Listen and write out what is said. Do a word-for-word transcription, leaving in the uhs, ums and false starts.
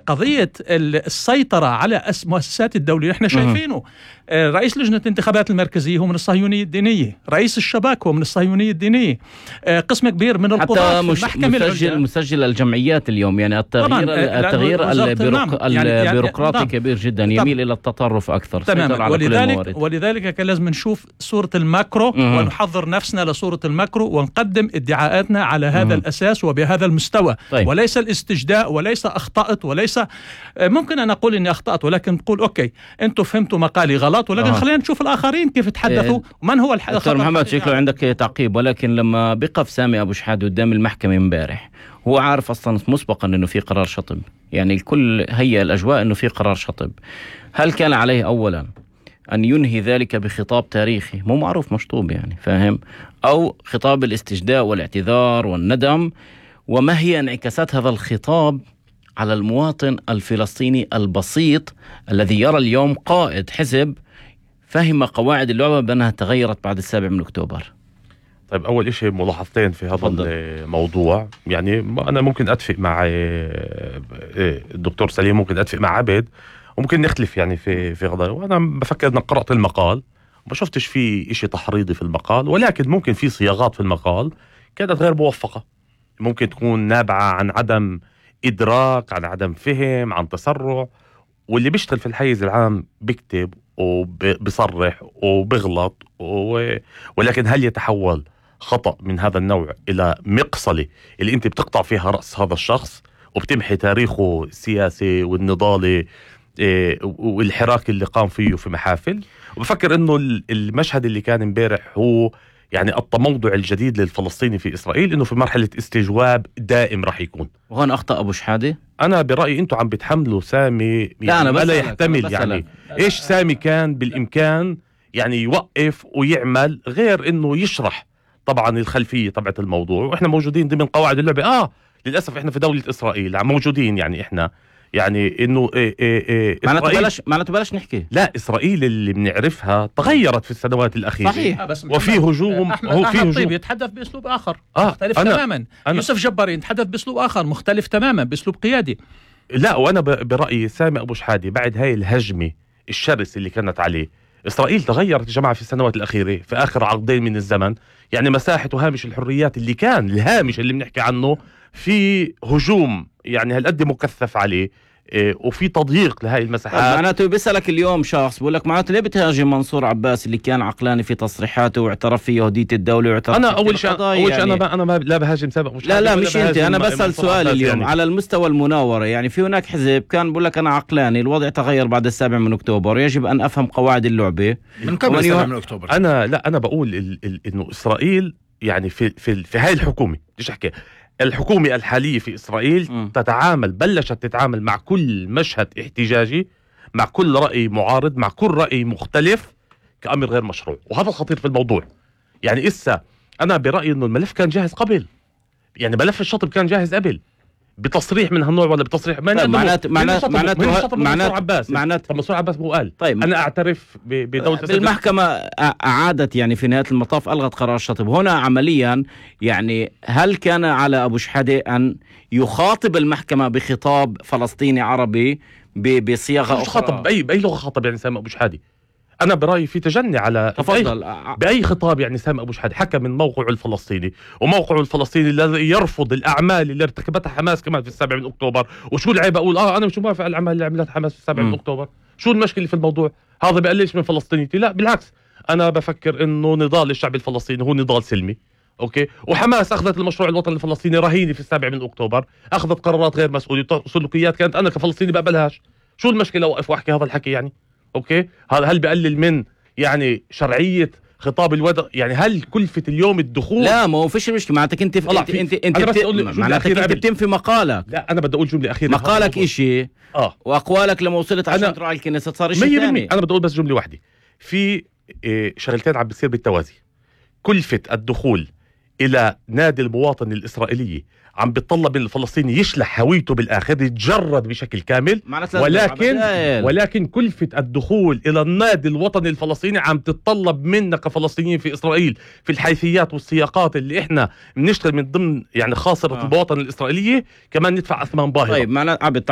قضية السيطرة على مؤسسات الدولة احنا شايفينه. رئيس لجنة الانتخابات المركزية هو من الصهيونية الدينية، رئيس الشباك هو من الصهيونية الدينية، قسم كبير من القضاة في المحكمة مسجل مسجل الجمعيات اليوم. يعني التغيير التغيير البيروق... يعني البيروقراطي يعني كبير جدا، يميل إلى التطرف أكثر. تمام. ولذلك ولذلك كان لازم نشوف صورة الماكرو مم. ونحضر نفسنا لصورة الماكرو ونقدم ادعاءاتنا على هذا مم. الأساس وبهذا المستوى. طيب. وليس الاستجداء، وليس أخطأت، وليس ممكن أن أقول إني أخطأت ولكن تقول أوكي أنتوا فهمتوا مقالي غلط، ولكن آه. خلينا نشوف الآخرين كيف تحدثوا إيه. ومن هو الحدث. دكتور محمد شكله عندك تعقيب، ولكن لما بقف سامي أبو شحادة قدام المحكمة امبارح هو عارف أصلا مسبقا إنه في قرار شطب، يعني الكل هيئ الأجواء إنه في قرار شطب. هل كان عليه أولا أن ينهي ذلك بخطاب تاريخي مو معروف مشطوب، يعني فاهم، أو خطاب الاستجداء والاعتذار والندم؟ وما هي انعكاسات هذا الخطاب على المواطن الفلسطيني البسيط الذي يرى اليوم قائد حزب فهم قواعد اللعبة بأنها تغيرت بعد السابع من أكتوبر؟ طيب، أول إشي ملاحظتين في هذا فضل. الموضوع. يعني أنا ممكن أتفق مع الدكتور سليم، ممكن أتفق مع عبد، وممكن نختلف يعني في في قضايا. وأنا بفكر أن قرأت المقال وما شفتش فيه إشي تحريضي في المقال، ولكن ممكن في صياغات في المقال كانت غير موفقة، ممكن تكون نابعة عن عدم إدراك، عن عدم فهم، عن تسرع. واللي بيشتغل في الحيز العام بيكتب وبيصرح وبيغلط و... ولكن هل يتحول خطأ من هذا النوع إلى مقصلة اللي أنت بتقطع فيها رأس هذا الشخص وبتمحي تاريخه السياسي والنضالي والحراك اللي قام فيه في محافل؟ وبفكر إنه المشهد اللي كان امبارح هو يعني التموضع الجديد للفلسطيني في إسرائيل، إنه في مرحلة استجواب دائم راح يكون. وهون أخطأ أبو شحادة؟ أنا برأيي أنتوا عم بتحملوا سامي يعني لا أنا لا يحتمل. يعني إيش سامي كان بالإمكان يعني يوقف ويعمل غير إنه يشرح طبعا الخلفية تبعت الموضوع. وإحنا موجودين ضمن قواعد اللعبة. آه للأسف إحنا في دولة إسرائيل موجودين، يعني إحنا يعني إنه إيه إيه إيه معناته بلاش معناته بلاش نحكي. لا، إسرائيل اللي بنعرفها تغيرت في السنوات الأخيرة. صحيح. وفي هجوم. أحمد, هو في أحمد هجوم. طيب يتحدث بأسلوب آخر آه مختلف أنا تماما. أنا يوسف جباري يتحدث بأسلوب آخر مختلف تماما، بأسلوب قيادي. لا، وأنا برأيي سامي أبو شحادة بعد هاي الهجمة الشرس اللي كانت عليه، إسرائيل تغيرت يا جماعة في السنوات الأخيرة، في آخر عقدين من الزمن. يعني مساحة وهامش الحريات اللي كان الهامش اللي بنحكي عنه في هجوم يعني هالقد مكثف عليه، إيه، وفي تضييق لهاي المساحات. معناته بيسألك اليوم شخص بقول لك معناته ليه بتهاجم منصور عباس اللي كان عقلاني في تصريحاته واعترف في يهودية الدولة واعترف أنا أول شيء أول شيء يعني. أنا ما أنا ما لا بهاجم سابق مش لا لا مش أنت، أنا بسأل سؤال اليوم يعني. على المستوى المناورة، يعني في هناك حزب كان بقول لك أنا عقلاني، الوضع تغير بعد السابع من أكتوبر، يجب أن أفهم قواعد اللعبة من قبل السابع من أكتوبر. أنا لا أنا بقول ال ال إنه إسرائيل يعني في في في هاي الحكومة ليش أحكي الحكومة الحالية في إسرائيل م. تتعامل بلشت تتعامل مع كل مشهد احتجاجي، مع كل رأي معارض، مع كل رأي مختلف كأمر غير مشروع. وهذا الخطير في الموضوع. يعني إسا أنا برأيي إنه الملف كان جاهز قبل، يعني ملف الشطب كان جاهز قبل بتصريح من هالنوع ولا بتصريح معناته معناته معناته منصور عباس معناته منصور عباس مو قال طيب أنا أعترف بدولة المحكمة أعادت يعني في نهاية المطاف ألغت قرار الشطب. هنا عمليا يعني هل كان على أبو شحادة أن يخاطب المحكمة بخطاب فلسطيني عربي بصياغة أخرى؟ خاطب بأي بأي لغة خاطب يعني سامي أبو شحادة؟ أنا برأيي في تجني على تفضل بأي, بأي خطاب. يعني سامي أبو شحادة حكى من موقعه الفلسطيني، وموقعه الفلسطيني الذي يرفض الأعمال اللي ارتكبتها حماس كمان في السابع من أكتوبر. وشو العيب أقول آه أنا مش موافق على الأعمال اللي عملتها حماس في السابع من أكتوبر؟ شو المشكلة في الموضوع؟ هذا بقللش من فلسطينيتي؟ لا بالعكس، أنا بفكر إنه نضال الشعب الفلسطيني هو نضال سلمي. أوكي، وحماس أخذت المشروع الوطني الفلسطيني رهينة في السابع من أكتوبر، أخذت قرارات غير مسؤولة، سلوكيات كانت أنا كفلسطيني بقبلهاش. شو المشكلة أوقف وأحكي هذا الحكي يعني؟ أوكي، هذا هل بقلل من يعني شرعية خطاب الودع؟ يعني هل كلفة اليوم الدخول؟ لا ما هو فيش مشكلة. معناتك انت انت انت انت معناتك انت بتنفي مقالك. لا انا بدي اقول جملة أخيرة. مقالك اشي اه واقوالك لما وصلت عشان تروح على الكنيسة صار اشي ثاني. انا بدي اقول بس جملة واحدة. في إيه شغلتين عم بتصير بالتوازي. كلفة الدخول الى نادي المواطن الاسرائيلي عم بيتطلب من الفلسطيني يشلح هويته بالاخر، يتجرد بشكل كامل، ولكن ولكن كلفة الدخول الى النادي الوطني الفلسطيني عم تتطلب منا كفلسطينيين في اسرائيل في الحيثيات والسياقات اللي احنا بنشتغل من ضمن يعني خاصرة آه. المواطنة الاسرائيلية كمان ندفع اثمان باهظة. طيب معنا عبد